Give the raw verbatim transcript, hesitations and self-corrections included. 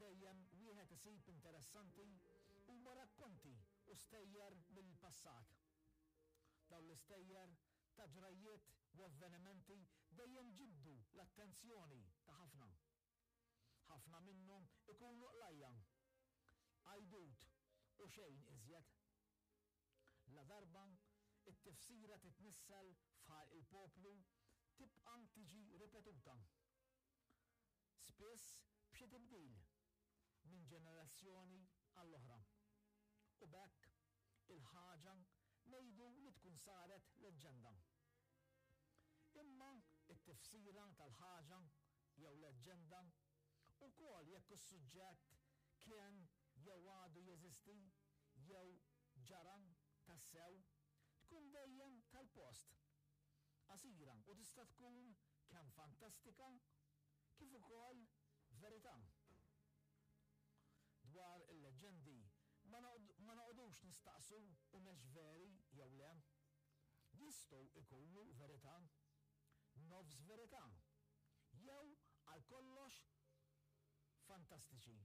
dejjem wieħed isib interessanti huma rakkonti u stejjer mill-passat. Dawn l-istejjer ta' ġrajjiet u avvenimenti dejjem ġibdu l-attenzjoni ta' ħafna. Ħafna minnhom ikunu qlajja, għajdut u xejn iżjed. La darba it-tifsira titnissel f'ħalq il-poplu, tibqa' tiġi ripetuta. Spiss b'xi tibdil minn ġenerazzjoni għall-oħra. U b'hekk il-ħaġa ngħidu li tkun saret leġġenda. Imma it-tifsira tal-ħaġa jew leġġenda, ukoll jekk is-suġġett kien jew għadu jeżisti jew ġara tassew, tkun dejjem tal-post. Qasira u tista' tkun kemm fantastika kif ukoll verità. Dwar il-leġġendi ma noqogħdux nistaqsu humiex veri jew le. Jistgħu ikunu verità, nofs verità, jew għal kollox fantastiċi.